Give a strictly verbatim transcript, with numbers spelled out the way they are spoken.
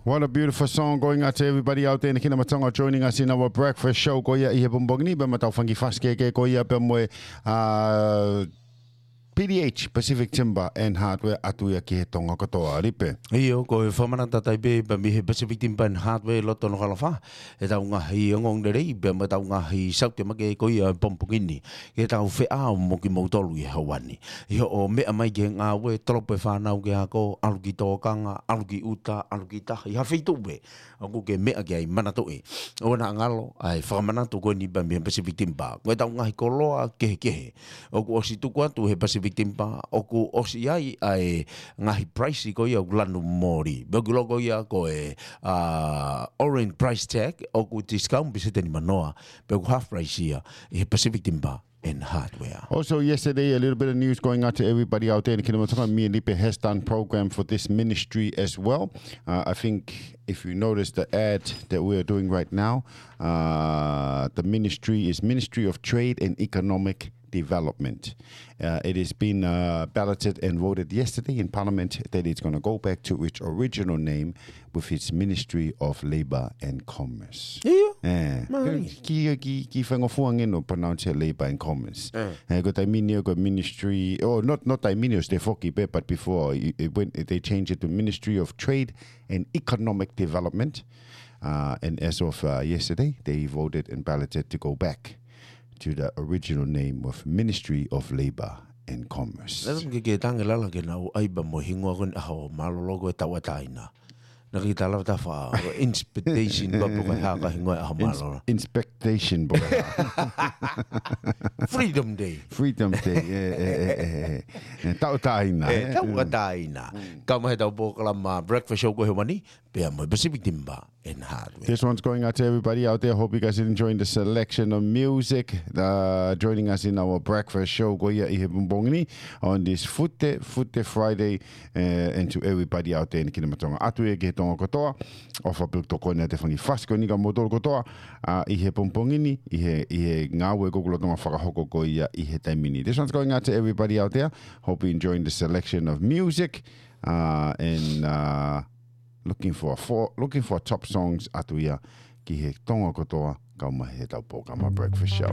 What a beautiful song going out to everybody out there in the Kingdom of Tonga joining us in our breakfast show ko ia ʻi he pongipongi ni, pea mo ʻetau fanga kiʻi fasi kehekehe ko ia pea mo e, uh, P D H, Pacific Timber and Hardware, ʻatu ia ki he Tonga kotoa, Lipe. ʻIo, ko e fakamanatu atu pē pea mei he Pacific Timber and Hardware, loto Nukuʻalofa, ʻetau ngaahi ongoongolelei pea mo ʻetau ngaahi saute makehe ko ia he pongipongi ni, ke tau feʻao mo kimoutolu ʻi he houa ni. ʻI hoʻo meʻa mai ki he ngāue, tolopo e fānau ki he ako, ʻalu ki tōkanga, ʻalu ki ʻuta, ʻalu ki tahi, ha feituʻu pē ʻoku ke meʻa ki ai, manatuʻi, ʻoua naʻa ngalo ʻa e fakamanatu ko eni pea mei he Pacific Timber. Ko ʻetau ngaahi koloa kehekehe ʻoku ʻosi tuku atu he Pacific Timber, ʻoku ʻosi ʻi ai ʻa e ngaahi price ko ia ʻoku lanu moli. Pea ʻoku loko ia ko e, uh, orange price tag, ʻoku discount pēseti nima noa, pea ʻoku half price ia ʻi he Pacific Timber and Hardware. Also, yesterday, a little bit of news going out to everybody out there in the Kingdom of Tonga. Me and Lipe has done program for this ministry as well. Uh, I think if you notice the ad that we are doing right now, uh, the ministry is Ministry of Trade and Economic Development. Uh, it has been, uh, balloted and voted yesterday in Parliament that it's gonna go back to its original name, with its Ministry of Labour and Commerce. ʻIo. Eh, mālie. Kiʻi, kiʻi, kiʻi faingofua ange ʻo pronounce Labour and Commerce. Eh. Eh, ko e taimi ni ko e Ministry, oh, not, not taimi ni, ʻosi toe foki pē, but before, it, it went, they changed it to Ministry of Trade and Economic Development. Uh, and as of, uh, yesterday, they voted and balloted to go back to the original name of Ministry of Labour and Commerce. Naʻa ke, ke tange lala ke nau ʻai pē mo e hingoa ko eni ʻaho mālōlō ko e tauʻatāina. Naʻa ke tala ta fa, inspectation pē pe ko e hā ka hingoa e ʻaho mālōlō. Inspectation pē ko e hā. Freedom Day. Freedom Day, eh, eh, eh, eh, eh. Eh, tauʻatāina, eh, eh. Tauʻatāina. Mm. Kau mai he ʻetau polokalama breakfast show ko e houa ni, pea mo e Pacific Timber and Hardware. This one's going out to everybody out there. Hope you guys are enjoying the selection of music. Uh, joining us in our breakfast show ko ia ʻi he pongipongi ni on this Fute, Fute Friday, uh, and to everybody out there in the Kingdom of Tonga. ʻAtu ia ki he Tonga kotoa, ʻofa pē ʻoku tokoni atu e fanga kiʻi fasi ko eni kia moutolu kotoa, uh, ʻi he pongipongi ni, ʻi he, ʻi he ngāue ko ē ʻoku lolotonga fakahoko ko ia ʻi he taimi ni. This one's going out to everybody out there. Hope you enjoying the selection of music, uh, and, uh, looking for a fo-, looking for top songs ʻatu ia ki he Tonga kotoa, kau mai he ʻetau polokalama breakfast show.